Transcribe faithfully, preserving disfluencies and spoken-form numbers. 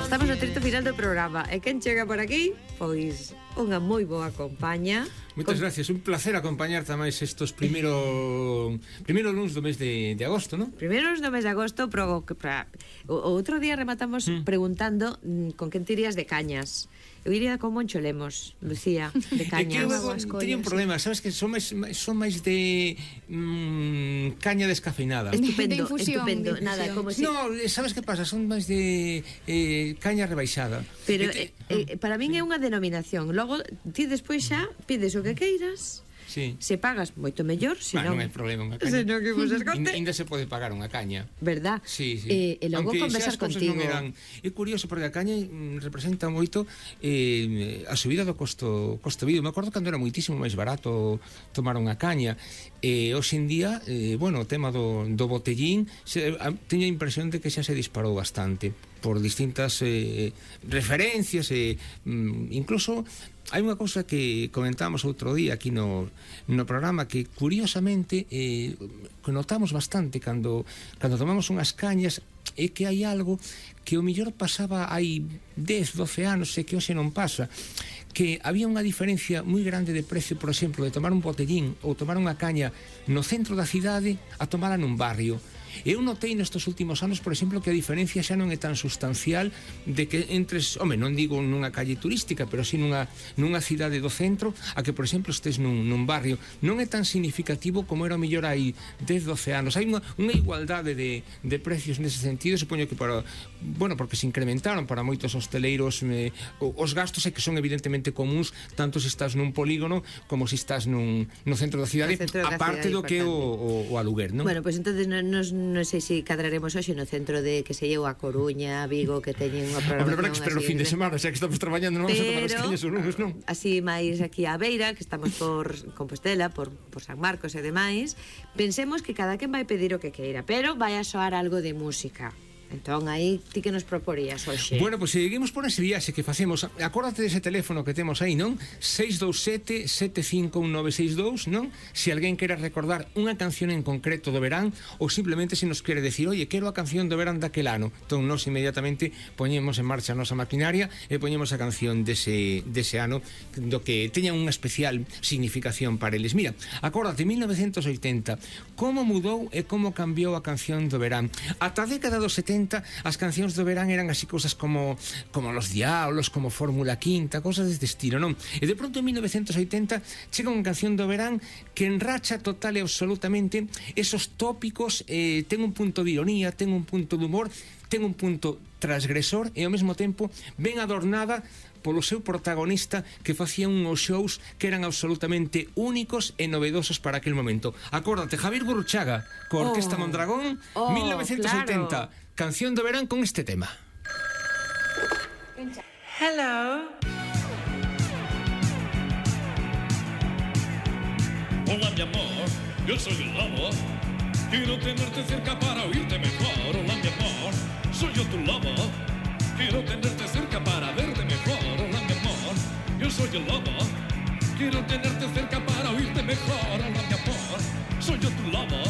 Estamos no trito final do programa e quen chega por aquí, pois unha moi boa compañía. Moitas Com... gracias, un placer acompañarte máis estos primeiro primeiro luns do mes de, de agosto, non? Primeiros do mes de agosto, pro, pra, o, o outro día rematamos mm. preguntando mm, con quen tirías de cañas. Eu iría con Moncho Lemos, Lucía, de cañas. É que eu teño un problema, sabes que son máis, son máis de mmm, caña descafeinada. Estupendo, de infusión, estupendo. de infusión. Nada, como si... No, sabes que pasa? Son máis de eh, caña rebaixada. Pero te... eh, eh, para min é unha denominación. Logo, ti despois xa pides o que queiras. Sí. Se pagas moito mellor, se bah, non... non hai problema unha caña. Se non que vos escote. Ainda se pode pagar unha caña. Verdad? Sí, sí. Eh, e logo aunque conversar contigo. Non eran... É curioso, porque a caña mm, representa moito eh, a subida do costo costo vida. Me acordo cando era moitísimo máis barato tomar unha caña. E eh, hoxe en día, eh, bueno, o tema do, do botellín, se, a, teño a impresión de que xa se disparou bastante por distintas eh, referencias e eh, incluso hai unha cousa que comentamos outro día aquí no, no programa que curiosamente eh, que notamos bastante cando, cando tomamos unhas cañas é que hai algo que o mellor pasaba hai dez, doce anos e que hoxe non pasa, que había unha diferencia moi grande de precio, por exemplo, de tomar un botellín ou tomar unha caña no centro da cidade a tomala nun barrio. Eu notei nestes últimos anos, por exemplo, que a diferencia xa non é tan sustancial de que entres, home, non digo nunha calle turística, pero si nunha, nunha cidade do centro, a que, por exemplo, estés nun, nun barrio. Non é tan significativo como era o mellor hai dez, doce anos. Hai unha, unha igualdade de, de precios nese sentido, supoño que para, bueno, porque se incrementaron para moitos hosteleiros eh, os gastos é que son evidentemente comuns, tanto se estás nun polígono como se estás nun, no centro da cidade, aparte do que o, o, o aluguer, non? Bueno, pois pues entonces nos non sei se cadraremos hoxe no centro de que se llevo a Coruña, Vigo, que teñen unha programación. Hombre, pero o fin de semana, xa que estamos traballando, non vamos a tomar as cañas o lunes, non? Así máis aquí a beira, que estamos por Compostela, por, por San Marcos e demais, pensemos que cada quen vai pedir o que queira, pero vai a soar algo de música. Entón, aí, ti que nos proporías hoxe? Bueno, pois pues, seguimos por ese viaxe que facemos. Acórdate dese teléfono que temos aí, non? seis dous sete, sete cinco un nove seis dous, non? Se alguén quere recordar unha canción en concreto do verán, ou simplemente se nos quere decir, oye, quero a canción do verán daquel ano. Entón, nos inmediatamente poñemos en marcha a nosa maquinaria e poñemos a canción dese, dese ano, do que teña unha especial significación para eles. Mira, acórdate, mil novecentos oitenta, como mudou e como cambiou a canción do verán. Ata a década dos setenta, as cancións do verán eran así cosas como como Los Diablos, como Fórmula Quinta, cosas deste estilo, non? E de pronto en mil novecentos oitenta chega unha canción do verán que enracha total e absolutamente esos tópicos, eh, ten un punto de ironía, ten un punto de humor, ten un punto transgresor e ao mesmo tempo ben adornada polo seu protagonista que facía uns shows que eran absolutamente únicos e novedosos para aquel momento. Acórdate, Javier Gurruchaga, coa Orquesta oh, Mondragón, oh, mil novecentos oitenta, claro. Canción do verán con este tema. Hello. Hola, mi amor, yo soy el lobo. Quiero tenerte cerca para oírte mejor. Hola, mi amor, soy yo tu lobo. Quiero tenerte cerca para verte mejor. Hola, mi amor, yo soy el lobo. Quiero tenerte cerca para oírte mejor. Hola, mi amor, soy yo tu lobo.